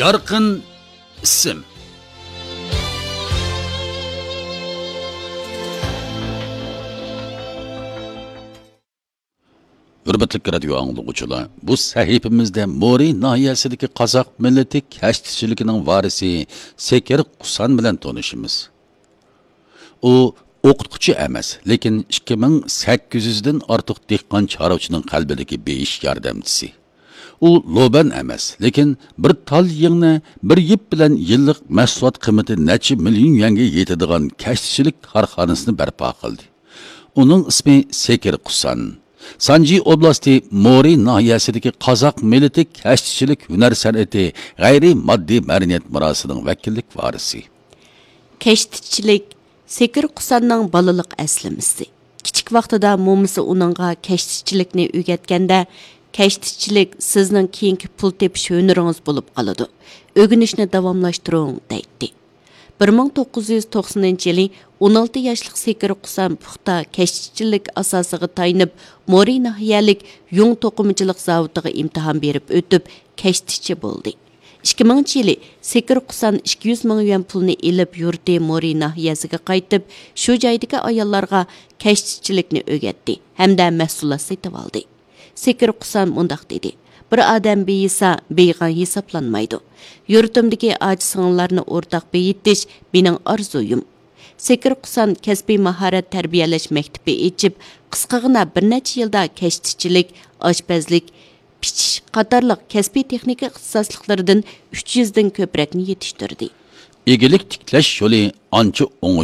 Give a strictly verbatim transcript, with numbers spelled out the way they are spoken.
يارقىن ئىسىم. ھۆرمەتلىك رادىيو ئاڭلىغۇچىلار، بۇ سەھىپىمىزدە مورى ناھىيەسىدىكى قازاق مىللىتى كەشتىچىلىكىنىڭ ۋارىسى سېكىر قۇسان بىلەن تونۇشىمىز. ئۇ ئوقۇتقۇچى ئەمەس، لېكىن ئىككى مىڭ سەككىز يۈزدىن ئارتۇق دېھقان چارۋىچىنىڭ قەلبىدىكى بېيىش ياردەمچىسى. ئۇ لوبەن ئەمەس، لېكىن بىر تال يىڭنە، بىر يىپ بىلەن يىللىق مەھسۇلات قىممىتى نەچچە مىليون يۈەنگە يېتىدىغان كەشتىچىلىك كارخانىسىنى بەرپا قىلدى. ئۇنىڭ ئىسمى سېكىر قۇسان. سانجى ئوبلاستى مورى ناھىيەسىدىكى قازاق مىللىتى كەشتىچىلىك ھۈنەر سەنئىتى غەيرىي ماددىي مەدەنىيەت مىراسىنىڭ ۋەكىللىك ۋارىسى. كەشتىچىلىك سېكىر قۇساننىڭ بالىلىق ئەسلىمىسى. كىچىك ۋاقتىدا مومىسى ئۇنىڭغا كەشتىچىلىكنى ئۆگەتكەندە، «كەشتىچىلىك سىزنىڭ كېيىنكى پۇل تېپىش ھۈنىرىڭىز بولۇپ قالىدۇ. ئۆگىنىشنى داۋاملاشتۇرۇڭ» دەيتتى. بىر مىڭ توققۇز يۈز توقسىنىنچى يىلى ئون ئالتە ياشلىق سېكىر قۇسان پۇختا كەشتىچىلىك ئاساسىغا تايىنىپ، مورى ناھىيەلىك يۇڭ توقۇمىچىلىق زاۋۇتىغا ئىمتىھان بېرىپ ئۆتۈپ، كەشتىچى بولدى. ئىككى مىڭىنچى يىلى سېكىر قۇسان ئىككى يۈز مىڭ يۈەن پۇلنى ئېلىپ، يۇرتى مورى ناھىيەسىگە قايتىپ، شۇ جايدىكى ئاياللارغا كەشتىچىلىكنى ئۆگەتتى ھەمدە مەھسۇلات سېتىۋالدى. سېكىر قۇسان مۇنداق دېدى: «بىر ئادەم بېيىسا، بېيىغان ھېسابلانمايدۇ. يۇرتۇمدىكى ئاچا-سىڭىللارنى ئورتاق بېيىتىش مېنىڭ ئارزۇيۇم.» سېكىر قۇسان كەسپىي ماھارەت تەربىيەلەش مەكتىپى ئېچىپ، قىسقىغىنا بىر نەچچە يىلدا كەشتىچىلىك، ئاشپەزلىك، پىچىش قاتارلىق كەسپىي تېخنىكا ئىختىساسلىقلىرىدىن ئۈچ يۈزدىن كۆپرەكنى يېتىشتۈردى. ئىگىلىك تىكلەش يولى ئانچە ئوڭۇشلۇق